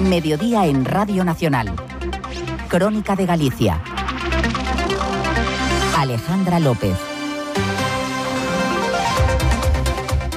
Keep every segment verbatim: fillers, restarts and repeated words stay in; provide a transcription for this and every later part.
Mediodía en Radio Nacional. Crónica de Galicia. Alejandra López.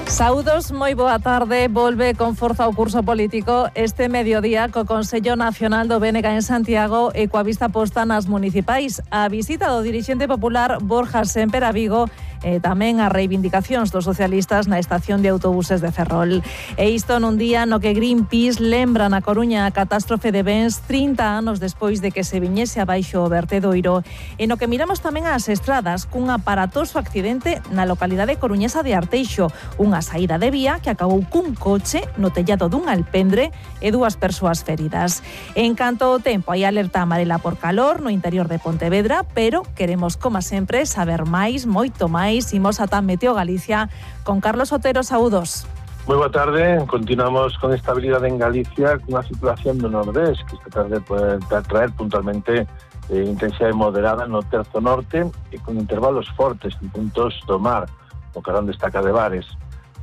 Saúdos, moi boa tarde. Volve con forza o curso político este mediodía co Consello Nacional do B N G en Santiago e coa vista posta nas municipais. A visita do dirixente popular Borja Sémper a Vigo e tamén as reivindicacións dos socialistas na estación de autobuses de Ferrol. E isto nun día no que Greenpeace lembra na Coruña a catástrofe de Bens trinta anos despois de que se viñese abaixo o vertedoiro, e no que miramos tamén ás estradas cun aparatoso accidente na localidade coruñesa de Arteixo, unha saída de vía que acabou cun coche no tellado dun alpendre e dúas persoas feridas. En canto ao tempo, hai alerta amarela por calor no interior de Pontevedra, pero queremos, como sempre, saber máis, moito máis. Imos ata Meteo Galicia con Carlos Otero. Saúdos. Moi boa tarde. Continuamos con estabilidade en Galicia, cunha situación do nordés que esta tarde pode traer puntualmente eh, intensidade moderada no terzo norte e con intervalos fortes en puntos do mar, o carón destaca de Bares.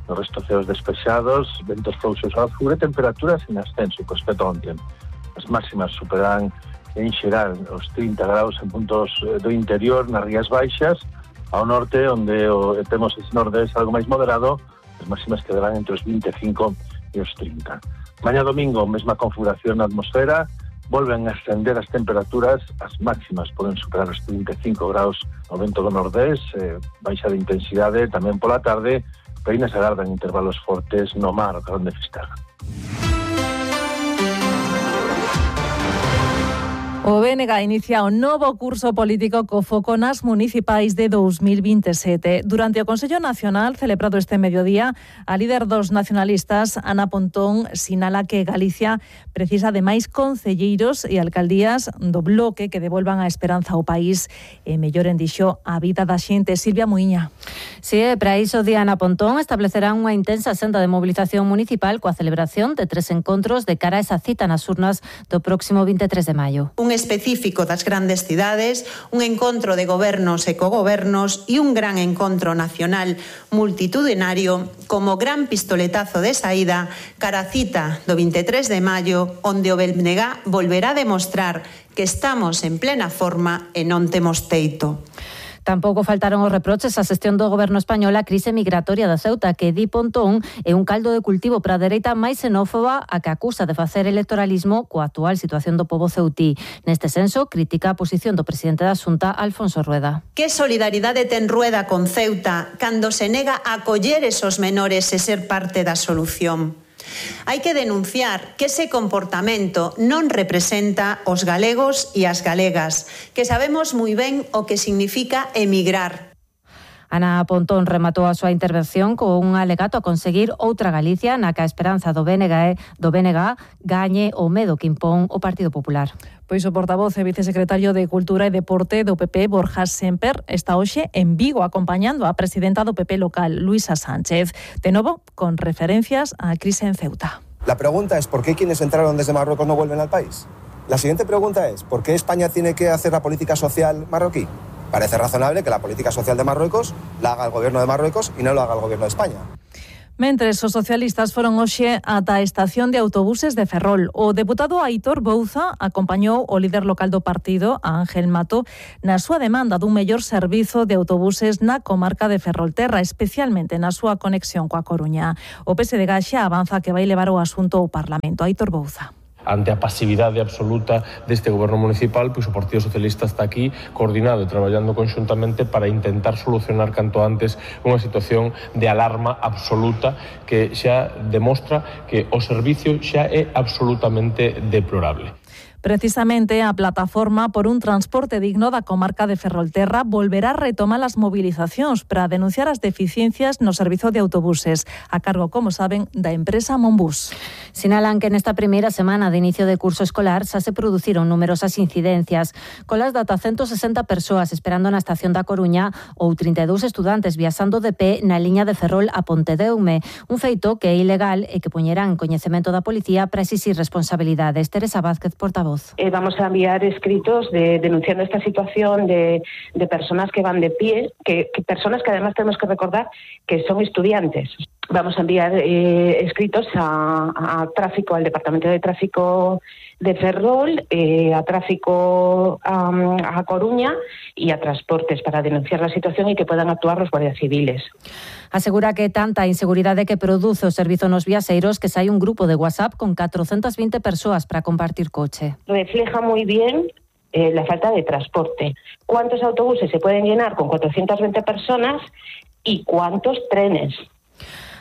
No resto ceos despexados, ventos frouxos ao sur e temperaturas en ascenso co respecto a onte. As máximas superarán en xeral os trinta graus en puntos do interior, nas Rías Baixas. Ao norte, onde o, temos ese nordés algo máis moderado, as máximas quedarán entre os vinte e cinco e os trinta. Mañá domingo, mesma configuración na atmosfera, volven a ascender as temperaturas, as máximas poden superar os trinta e cinco graus ao vento do nordés, eh, baixa de intensidade tamén pola tarde, pero ainda se agardan intervalos fortes no mar, o carón de Fisterra. O B N G inicia un novo curso político co foco nas municipais de dous mil vinte e sete. Durante o Consello Nacional, celebrado este mediodía, a líder dos nacionalistas, Ana Pontón, sinala que Galicia precisa de máis concelleiros e alcaldías do bloque que devolvan a esperanza ao país e melloren, dixo, a vida da xente. Silvia Muiña. Si, sí, para iso, di Ana Pontón, establecerá unha intensa senda de mobilización municipal coa celebración de tres encontros de cara a esa cita nas urnas do próximo vinte e tres de maio. Un específico das grandes cidades, un encontro de gobernos e cogobernos e un gran encontro nacional multitudinario como gran pistoletazo de saída cara a cita do vinte e tres de maio, onde o B N G volverá a demostrar que estamos en plena forma e non temos teito. Tampouco faltaron os reproches á xestión do goberno español á crise migratoria da Ceuta, que di Pontón é un caldo de cultivo para a dereita máis xenófoba a que acusa de facer electoralismo coa actual situación do pobo ceutí. Neste senso, critica a posición do presidente da Xunta, Alfonso Rueda. Que solidaridade ten Rueda con Ceuta cando se nega a acoller esos menores e ser parte da solución? Hai que denunciar que ese comportamento non representa os galegos e as galegas, que sabemos moi ben o que significa emigrar. Ana Pontón rematou a súa intervención con un alegato a conseguir outra Galicia na que a esperanza do B N G, do B N G gañe o medo que impón o Partido Popular. Pois o portavoz e vicesecretario de Cultura e Deporte do P P, Borja Sémper, está hoxe en Vigo acompañando a presidenta do P P local, Luisa Sánchez. De novo, con referencias á crise en Ceuta. La pregunta es ¿por qué quienes entraron desde Marruecos no vuelven al país? La siguiente pregunta es ¿por qué España tiene que hacer la política social marroquí? Parece razonable que la política social de Marruecos la haga el gobierno de Marruecos y no lo haga el gobierno de España. Mentres os socialistas foron hoxe ata a estación de autobuses de Ferrol. O deputado Aitor Bouza acompañou o líder local do partido, a Ángel Mato, na súa demanda dun mellor servizo de autobuses na comarca de Ferrolterra, especialmente na súa conexión coa Coruña. O P S D G xa avanza que vai levar o asunto ao Parlamento. Aitor Bouza. Ante a pasividade absoluta deste goberno municipal, pois o Partido Socialista está aquí coordinado e traballando conxuntamente para intentar solucionar canto antes unha situación de alarma absoluta que xa demostra que o servicio xa é absolutamente deplorable. Precisamente a plataforma por un transporte digno da comarca de Ferrolterra volverá a retomar as movilizacións para denunciar as deficiencias no servizo de autobuses, a cargo, como saben, da empresa Monbus. Sinalan que nesta primeira semana de inicio de curso escolar xa se produciron numerosas incidencias, colas de ata ciento sesenta persoas esperando na estación da Coruña ou trinta e dous estudantes viaxando de pé na liña de Ferrol a Pontedeume, un feito que é ilegal e que poñerán en coñecemento da policía para exixir responsabilidades. Teresa Vázquez, portavoz. Eh, vamos a enviar escritos de, denunciando esta situación de, de personas que van de pie, que, que personas que además tenemos que recordar que son estudiantes. Vamos a enviar eh, escritos a, a tráfico, al Departamento de Tráfico de Ferrol, eh, a Tráfico um, a Coruña y a Transportes para denunciar la situación y que puedan actuar los guardias civiles. Asegura que tanta inseguridade que produce o servizo nos viaxeiros que sai un grupo de WhatsApp con catrocentas veinte persoas para compartir coche. Refleja muy bien eh, la falta de transporte. ¿Cuántos autobuses se pueden llenar con cuatrocientas veinte personas y cuántos trenes?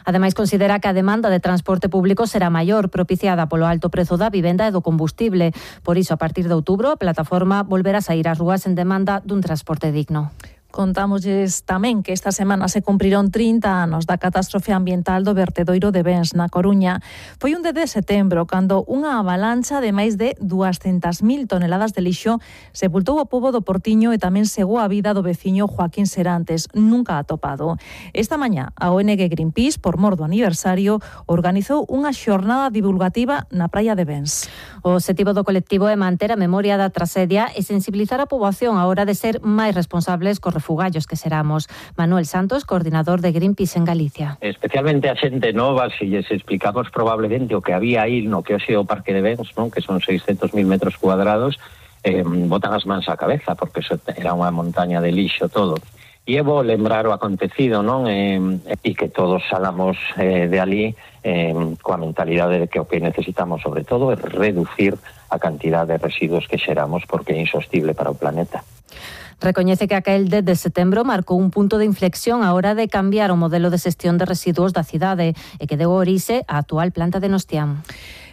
Ademais, considera que a demanda de transporte público será maior, propiciada polo alto prezo da vivenda e do combustible. Por iso, a partir de outubro, a plataforma volverá a sair ás rúas en demanda dun transporte digno. Contámosles tamén que esta semana se cumpriron trinta anos da catástrofe ambiental do vertedoiro de Bens na Coruña. Foi un dez de setembro cando unha avalancha de máis de duascentas mil toneladas de lixo sepultou o pobo do Portiño e tamén segou a vida do veciño Joaquín Serantes, nunca atopado. Esta mañá, a O N G Greenpeace, por mor do aniversario, organizou unha xornada divulgativa na praia de Bens. O objetivo do colectivo é manter a memoria da tragedia e sensibilizar a poboación á hora de ser máis responsables cos refugallos que seramos. Manuel Santos, coordinador de Greenpeace en Galicia. Especialmente a xente nova, se lles explicamos probablemente o que había aí no que hoxe o Parque de Bens, non? Que son seiscentos mil metros cuadrados, eh, botan as mans á cabeza, porque eso era unha montaña de lixo todo. E é bo lembrar o acontecido, non? Eh, e que todos salamos eh, de ali eh, coa mentalidade de que o que necesitamos sobre todo é reducir a cantidade de residuos que xeramos, porque é insostible para o planeta. Recoñece que aquel dez de setembro marcou un punto de inflexión á hora de cambiar o modelo de xestión de residuos da cidade e que deu orixe á actual planta de Nostián.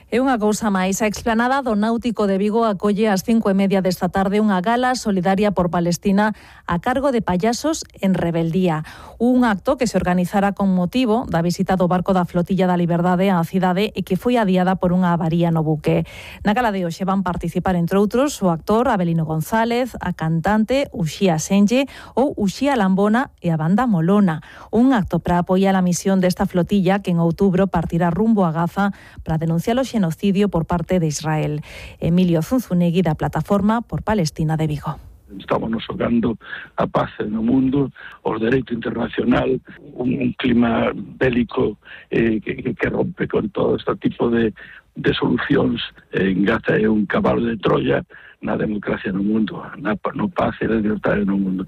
E unha cousa máis, a explanada do Náutico de Vigo acolle ás cinco e media desta tarde unha gala solidaria por Palestina a cargo de Payasos en Rebeldía. Un acto que se organizara con motivo da visita do barco da Flotilla da Liberdade á cidade e que foi adiada por unha avaría no buque. Na gala de hoxe van participar, entre outros, o actor Abelino González, a cantante Uxía Senlle ou Uxía Lambona e a banda Molona. Un acto para apoiar a misión desta flotilla que en outubro partirá rumbo a Gaza para denunciar o xenocidio por parte de Israel. Emilio Zunzunegui, da Plataforma por Palestina de Vigo. Estamos xogando a paz no mundo, o dereito internacional, un, un clima bélico eh, que, que rompe con todo este tipo de, de solucións. En Gaza é un cabalo de Troya na democracia no mundo, na no paz e na libertade no mundo.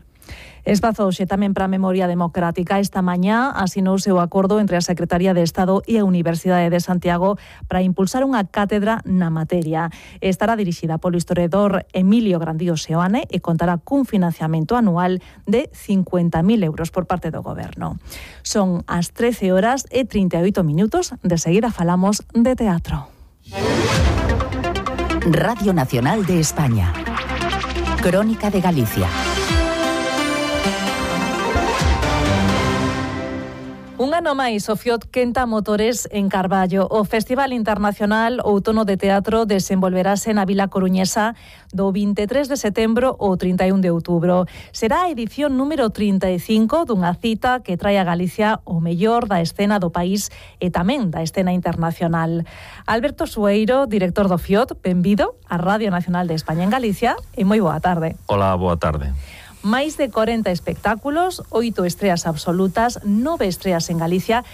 Espazouse tamén para a memoria democrática. Esta mañá asinouse o acordo entre a Secretaría de Estado e a Universidade de Santiago para impulsar unha cátedra na materia. Estará dirixida polo historiador Emilio Grandío Seoane e contará cun financiamento anual de cincuenta mil euros por parte do Goberno. Son as trece horas e trinta e oito minutos. De seguida falamos de teatro. Radio Nacional de España. Crónica de Galicia. Un ano máis, o Fiot quenta motores en Carballo. O Festival Internacional Outono de Teatro desenvolverase na Vila Coruñesa do vinte e tres de setembro ao trinta e un de outubro. Será a edición número trinta e cinco dunha cita que trae a Galicia o mellor da escena do país e tamén da escena internacional. Alberto Sueiro, director do Fiot, benvido á Radio Nacional de España en Galicia e moi boa tarde. Hola, boa tarde. Máis de corenta espectáculos, oito estreas absolutas, nove estreas en Galicia.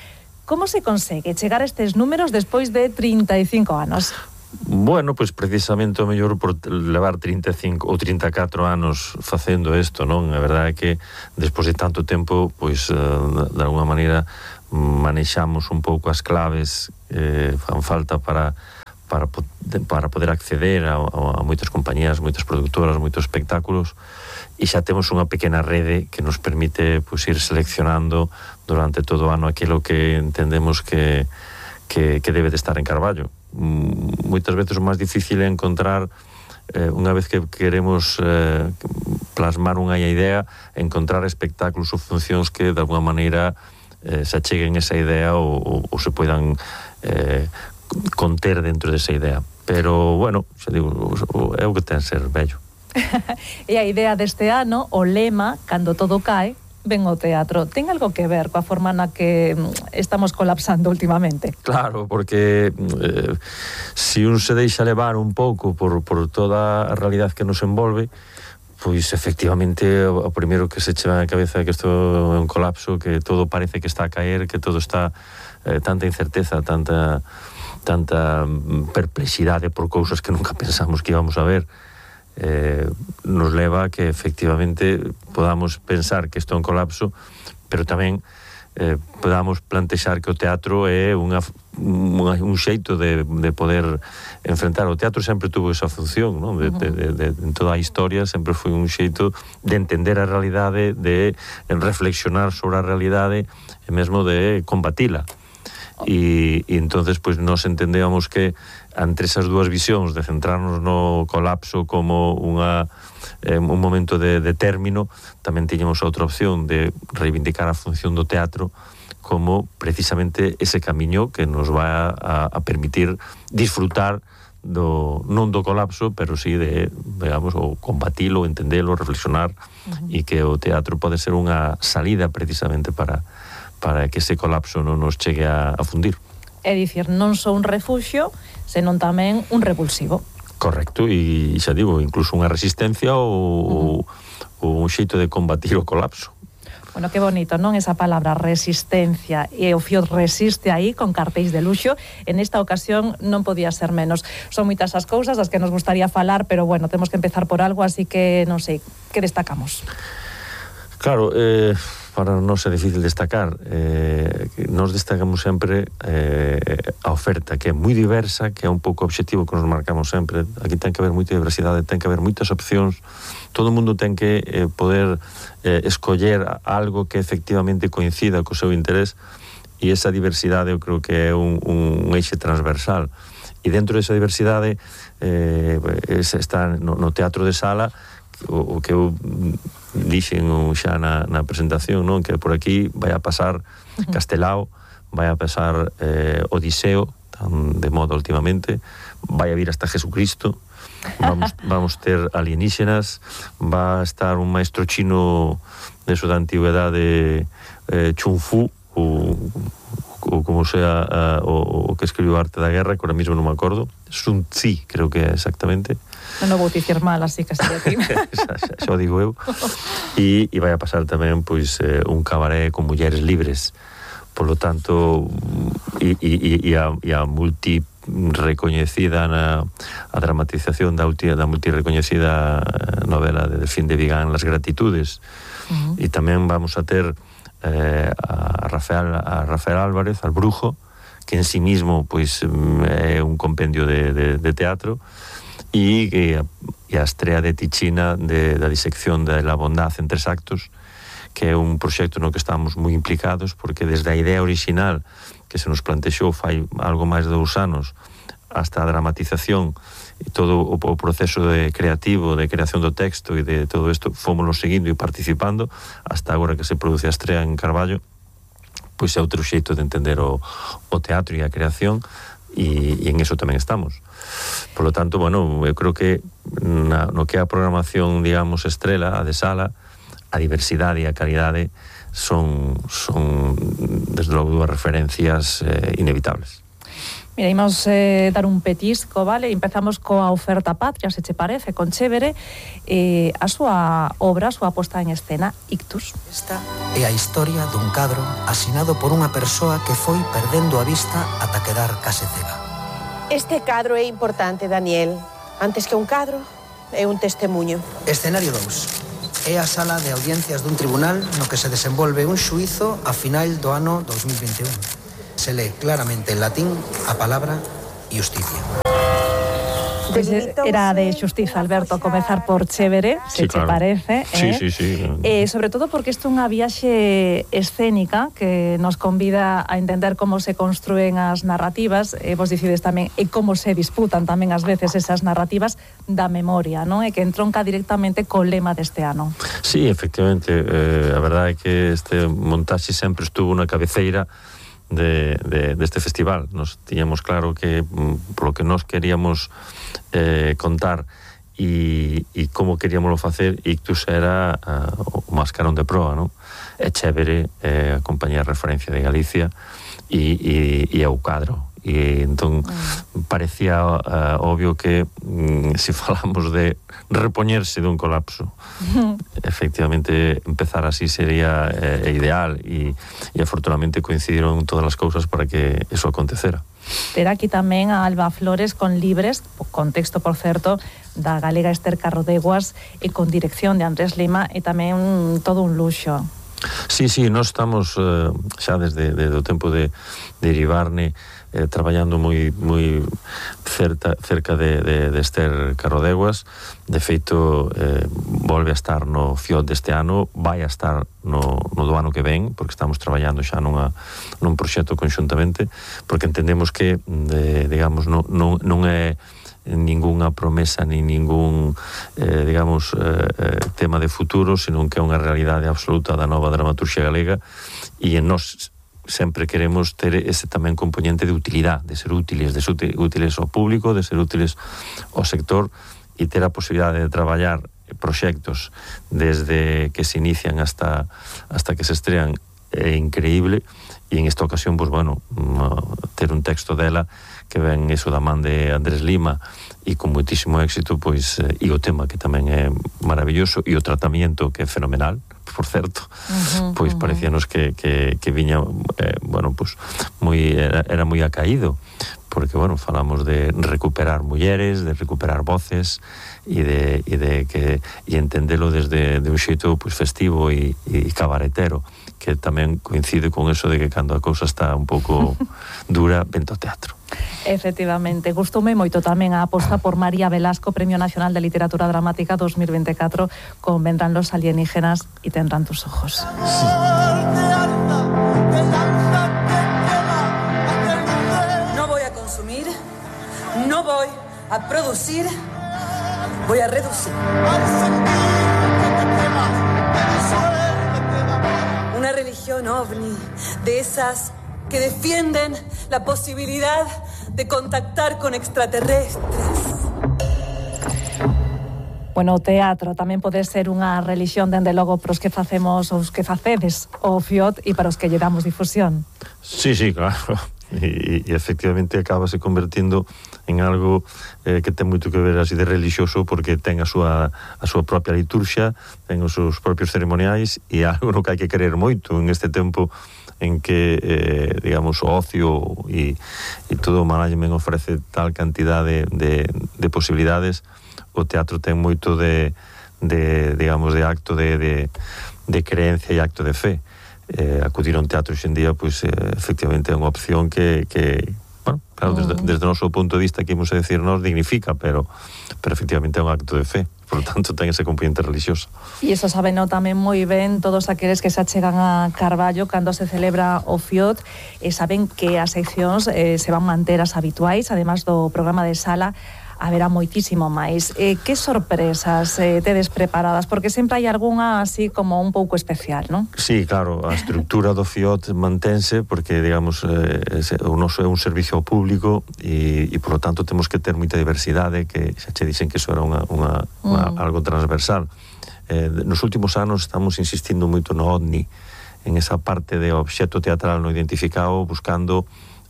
Como se consegue chegar a estes números despois de trinta e cinco anos? Bueno, pois pues precisamente o mellor por levar trinta e cinco ou trinta e catro anos facendo isto, non? A verdade é que despois de tanto tempo, pois pues, de alguma maneira manexamos un pouco as claves eh, fan falta para para para poder acceder a, a, a moitas compañías, moitas productoras, moitos espectáculos. E xa temos unha pequena rede que nos permite pues, ir seleccionando durante todo o ano aquilo que entendemos que, que, que debe de estar en Carballo. Moitas veces o máis difícil é encontrar, eh, unha vez que queremos eh, plasmar unha idea, encontrar espectáculos ou funcións que de alguna maneira eh, se acheguen esa idea ou, ou, ou se poidan eh, conter dentro desa idea. Pero, bueno, xa digo, é o que ten ser bello. E a idea deste ano, o lema, cando todo cae, ven o teatro. Ten algo que ver coa forma na que estamos colapsando últimamente? Claro, porque eh, si un se deixa levar un pouco por, por toda a realidade que nos envolve, pois efectivamente o primeiro que se cheva na cabeza é que isto é un colapso, que todo parece que está a caer, que todo está eh, tanta incerteza, tanta tanta perplexidade por cousas que nunca pensamos que íbamos a ver, eh, nos leva a que efectivamente podamos pensar que isto é un colapso, pero tamén eh, podamos plantexar que o teatro é unha, unha, un xeito de, de poder enfrentar. O teatro sempre tuvo esa función, non? De, de, de, de, en toda a historia sempre foi un xeito de entender a realidade, de reflexionar sobre a realidade e mesmo de combatila. E, e entonces pois nos entendíamos que entre esas dúas visións de centrarnos no colapso como unha eh, un momento de, de término, tamén tiñamos outra opción de reivindicar a función do teatro como precisamente ese camiño que nos vai a, a permitir disfrutar do, non do colapso, pero sí de, digamos, o combatilo, entendelo, reflexionar, uh-huh. e que o teatro pode ser unha salida precisamente para para que ese colapso non nos chegue a, a fundir. É dicir, non só un refuxio, senón tamén un revulsivo. Correcto, e xa digo, incluso unha resistencia ou, uh-huh. ou un xeito de combatir o colapso. Bueno, que bonito, non? Esa palabra resistencia, e o Fiot resiste aí con cartéis de luxo. En esta ocasión non podía ser menos. Son moitas as cousas das que nos gustaría falar, pero bueno, temos que empezar por algo, así que non sei, que destacamos? Claro, eh, para non ser difícil destacar, eh, nos destacamos sempre eh, a oferta, que é moi diversa, que é un pouco o obxectivo que nos marcamos sempre. Aquí ten que haber moita diversidade, ten que haber moitas opcións, todo o mundo ten que eh, poder eh, escoller algo que efectivamente coincida co seu interés, e esa diversidade eu creo que é un, un eixe transversal. E dentro desa diversidade eh, está no, no teatro de sala, o, o que eu dixen xa na, na presentación, non? Que por aquí vai a pasar Castelao, vai a pasar eh, Odiseo, tan de moda últimamente, vai a vir hasta Jesucristo, vamos, vamos ter alienígenas, va a estar un maestro chino de eso da antigüedade, eh, Chun Fu, ou, ou como sea a, o, o que escribiu Arte da Guerra, que ahora mismo non me acordo, Sun Tzu, creo que é exactamente. Non o vou dicir mal, así que sería aquí. xa, xa, xa o digo eu. E, e vai a pasar tamén pois, eh, un cabaré con mulleres libres. Por lo tanto, e, e, e, a, e a multi recoñecida na a dramatización da, ulti, da multi recoñecida novela de Delfín de Vigán, Las Gratitudes. Uh-huh. E tamén vamos a ter eh, a, Rafael, a Rafael Álvarez, al Brujo, que en sí mismo pois, é un compendio de, de, de teatro, e, e, a, e a estrea de Tichina de, da disección de La Bondad en tres actos, que é un proxecto no que estamos moi implicados, porque desde a idea original que se nos plantexou fai algo máis de dous anos hasta a dramatización e todo o, o proceso de creativo, de creación do texto e de todo isto, fomoslo seguindo e participando hasta agora que se produce a estrea en Carballo, pois é outro xeito de entender o, o teatro e a creación, e, e en eso tamén estamos. Por lo tanto, bueno, eu creo que na, no que é a programación, digamos, estrela, a de sala, a diversidade e a calidade son, son desde logo, dúas referencias eh, inevitables. Mira, imos eh, dar un petisco, vale? Empezamos coa oferta patria, se che parece, con Chévere, eh, a súa obra, a súa posta en escena, Ictus. Esta é a historia dun cadro asinado por unha persoa que foi perdendo a vista ata quedar case cega. Este cadro é importante, Daniel. Antes que un cadro, é un testemunho. Escenario dous. É a sala de audiencias dun tribunal no que se desenvolve un xuízo a final do ano dos mil vinte e un. Se lee claramente en latín a palabra justicia. Pues era de xustiza, Alberto, comezar por Chévere, se sí, claro. Te parece. Sí, eh? sí, sí. Eh, sobre todo porque isto é unha viaxe escénica que nos convida a entender como se construen as narrativas, e vos dicides tamén, e como se disputan tamén ás veces esas narrativas da memoria, non? E que entronca directamente co lema deste ano. Sí, efectivamente, eh, a verdade é que este montaxe sempre estuvo na cabeceira de, de, deste festival. Nos tiñamos claro que polo que nos queríamos eh, contar e, e como queríamoslo facer, Ictus era uh, o mascarón de proa, non? É Chévere, é a compañía de referencia de Galicia e, e, e é o cadro, e entón mm. parecía uh, obvio que mm, se falamos de repoñerse dun colapso mm. efectivamente empezar así sería eh, ideal e, e afortunadamente coincidiron todas as cousas para que eso acontecera. Ter aquí tamén a Alba Flores con Libres, con texto, por certo, da galega Esther Carrodeguas e con dirección de Andrés Lima, e tamén un, todo un luxo. Sí, sí, nós estamos eh, xa desde, desde o tempo de, de Iribarne eh, traballando moi moi cerca, cerca de, de, de Esther Carrodeguas. De feito, eh, volve a estar no F I O T deste ano, vai a estar no, no do ano que ven, porque estamos traballando xa nunha, nun proxecto conxuntamente, porque entendemos que, de, digamos, non, non, non é ningunha promesa ni ningún eh, digamos eh, tema de futuro, senón que é unha realidade absoluta da nova dramaturxia galega, e en nós sempre queremos ter ese tamén componente de utilidade, de ser útiles, de ser útiles ao público, de ser útiles ao sector, e ter a posibilidade de traballar proxectos desde que se inician hasta hasta que se estrean é increíble. E en esta ocasión, pues bueno, ter un texto dela que ven eso da man de Andrés Lima e con moitísimo éxito, pois, e o tema que tamén é maravilloso e o tratamento que é fenomenal, por certo, uh-huh, pois uh-huh. parecíanos que, que, que viña, eh, bueno, pues moi, era, era moi acaído, porque, bueno, falamos de recuperar mulleres, de recuperar voces e de, e de que e entendelo desde de un xeito pues, festivo e, e cabaretero, que tamén coincide con eso de que cando a cousa está un pouco dura, vento ao teatro. Efectivamente, gustoume moito tamén a aposta por María Velasco, Premio Nacional de Literatura Dramática dos mil veinticuatro, con Vendrán los alienígenas y tendrán tus ojos. Sí. No voy a consumir, no voy a producir, voy a reducir. Una religión ovni, de esas que defienden la posibilidad de contactar con extraterrestres. Bueno, o teatro tamén pode ser unha religión, dende logo, para os que facemos, os que facedes o F I O T e para os que lle damos difusión. Sí, sí, claro. E, e efectivamente acabase convertindo en algo eh, que ten moito que ver así de religioso, porque ten a súa, a súa propia liturxia, ten os seus propios ceremoniais, e algo no que hai que querer moito en este tempo en que, eh, digamos, o ocio e, e todo o management ofrece tal cantidade de, de posibilidades. O teatro ten moito de, de digamos, de acto de, de, de creencia e acto de fe. Eh, acudir a un teatro hoxendía, pois, eh, efectivamente é unha opción que, que bueno, claro, desde, desde o noso punto de vista, que imos a decir nos, dignifica, pero, pero efectivamente é un acto de fe, por lo tanto ten ese componente religioso. E iso sabeno tamén moi ben todos aqueles que se achegan a Carballo cando se celebra o F I O T, e saben que as seccións eh, se van manter as habituais, además do programa de sala, haberá moitísimo máis. Eh, que sorpresas eh, tedes preparadas? Porque sempre hai algunha así como un pouco especial, non? Sí, claro, a estructura do F I O T mantense, porque, digamos, eh, o noso é un servicio ao público e, e por lo tanto, temos que ter moita diversidade, que xa che dixen que iso era unha, unha, unha, mm. algo transversal. Eh, nos últimos anos estamos insistindo moito no OVNI, en esa parte de obxecto teatral non identificado, buscando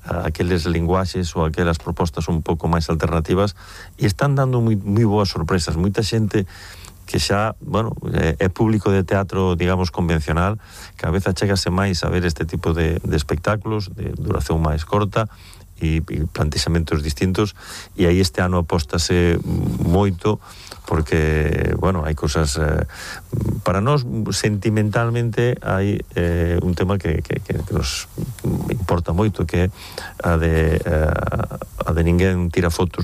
aqueles linguaxes ou aquelas propostas un pouco máis alternativas, e están dando moi, moi boas sorpresas. Moita xente que xa, bueno, é, é público de teatro, digamos, convencional, que a veces chegase máis a ver este tipo de, de espectáculos de duración máis corta e, e plantexamentos distintos, e aí este ano apóstase moito, porque, bueno, hai cosas eh, para nós sentimentalmente hai eh, un tema que, que, que nos importa moito, que é a de, eh, a de ninguén tira fotos